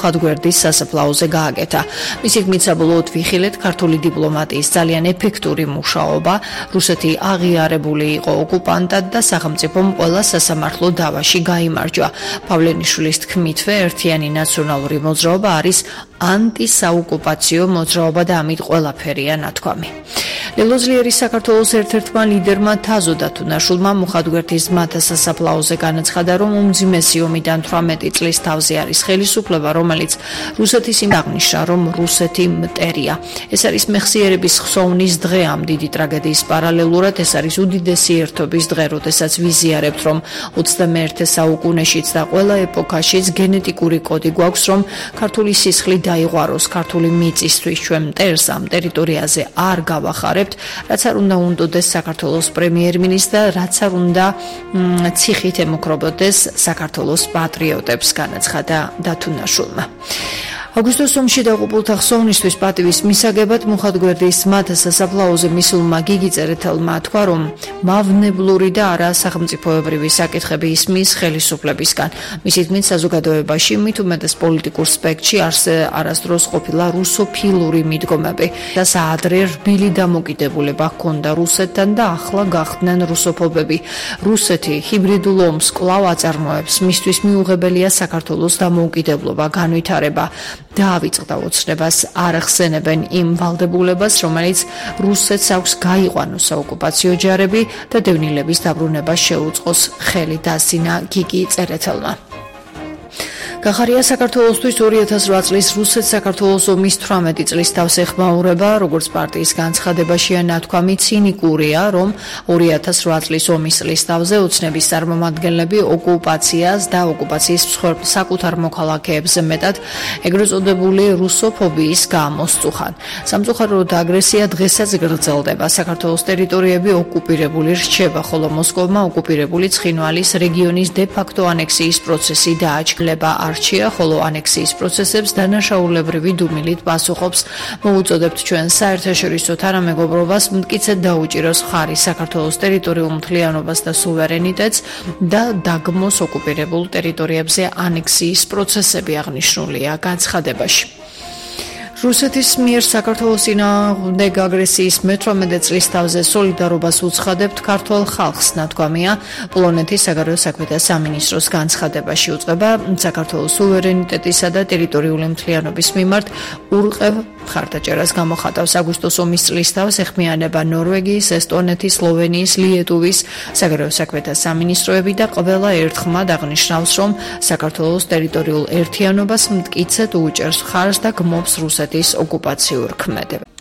მუხათგვერდის სასაფლაოზე გააკეთა. მისი თქმით, საბოლოოდ ვიხილეთ ქართული დიპლომატიის ძალიან ეფექტური მუშაობა, რუსეთი აღიარებული იყო ოკუპანტად და სახელმწიფომ ყველა სასამართლო დავაში გაიმარჯვა. პავლენიშვილის თქმითვე, ერთიანი ნაციონალური მოძრაობა არის ანტისაოკუპაციო მოძრაობა და ამით ყველაფერია ნათქვამი. ლელოზლიერი საქართველოს ერთ-ერთმა ლიდერმა თაზო დათუნაშვილმა მუხათგვერდის ძმათა სასაფლაოზე განაცხადა, რომ უმძიმესი ომიდან 18 წლის თავზე არის ხელისუფლება, რომელიც რუსეთის იმ აღნიშნა, რომ რუსეთი მტერია. ეს არის მეხსიერების ხსოვნის დღე ამ დიდი ტრაგედიის პარალელურად, ეს არის უდიდესი ერთობის დღე, როდესაც ვიზიარებთ, რომ 21 საუკუნეშიც და ყველა ეპოქაშიც გენეტიკური კოდი გვაქვს, რომ ქართული სისხლი დაიღვაროს ქართული მიწისთვის ჩვენ მტერს ამ ტერიტორიაზე არ გავახარებთ, რაც არ უნდა უნდოდეს საქართველოს პრემიერ-მინისტრს და რაც არ უნდა ციხით ემუქრობოდეს საქართველოს პატრიოტებს, განაცხადა დათუნაშვილმა. აგვისტოს ომში დაღუპულთა ხსოვნისთვის პატივის მისაგებად მუხათგვერდის ძმათა სასაფლაოზე მისულმა გიგი წერეთელმა თქვა, რომ მავნებლური და არა სახელმწიფოებრივი საკითხები ისმის ხელისუფლებისგან. მისი თქმით, საზოგადოებაში მით უმეტეს პოლიტიკურ სპექტრში არასდროს ყოფილა რუსოფილური მიდგომები და საადრე რბილი დამოკიდებულება ჰქონდა რუსეთთან და ახლა გახდნენ რუსოფობები. რუსეთი ჰიბრიდულ ომს კვლავ აწარმოებს, მისთვის მიუღებელია საქართველოს დამოუკიდებლობა, განვითარება. დაავიწყდა ოცნებას არ ახსენებენ იმ ვალდებულებას, რომელიც რუსეთს აქვს გაიყვანოს საოკუპაციო ჯარები და დევნილების დაბრუნება შეუწყოს ხელი, დასინა გიგი წერეთელმა. გახარია საქართველოსთვის 2008 წლის რუსეთ-საქართველოს ომის 18 წლის თავს ეხმაურება, როგორც პარტიის განცხადებაშია ნათქვამი, ცინიკურია, რომ 2008 წლის ომის წლის თავზე ოცნების წარმომადგენლები ოკუპაციას და ოკუპაციის საკუთარ მოქალაქეებზე მეტად ეგრეთ წოდებული რუსოფობიის გამო სწუხან. სამწუხაროდ აგრესია დღესაც გრძელდება. საქართველოს ტერიტორიები ოკუპირებული რჩება, ხოლო მოსკოვმა ოკუპირებული ცხინვალის რეგიონის დე-ფაქტო ანექსიის პროცესი დააჩქლება. არჩია, ხოლო ანექსიის პროცესებს დანაშაულებრივი დუმილით პასუხობს. მოუწოდებთ ჩვენ საერთაშორისო თანამეგობრობას მტკიცედ დაუჭიროს ხარი საქართველოს ტერიტორიულ მთლიანობას და სუვერენიტეტს და დაგმოს ოკუპირებულ ტერიტორიებზე ანექსიის პროცესები, აღნიშნულია განცხადებაში. რუსეთის მიერ საქართველოს წინააღმდეგ აგრესიის მე-18 წლის თავზე სოლიდარობას უცხადებთ ქართულ ხალხს, ნათქვამია პოლონეთის საგარეო საქმეთა სამინისტროს განცხადებაში. უწყება საქართველოს სუვერენიტეტისა და ტერიტორიული მთლიანობის მიმართ ურყევ მხარდაჭერას გამოხატავს. აგვისტოს ომის წლის თავს ეხმიანება ნორვეგიის, ესტონეთის, სლოვენიის, ლიეტუვის საგარეო საქმეთა სამინისტროები და ყველა ერთხმად აღნიშნავს, რომ საქართველოს ტერიტორიულ ერთიანობას მტკიცედ უჭერს ხარს და გმობს რუსეთის ოკუპაციურ ქმედება.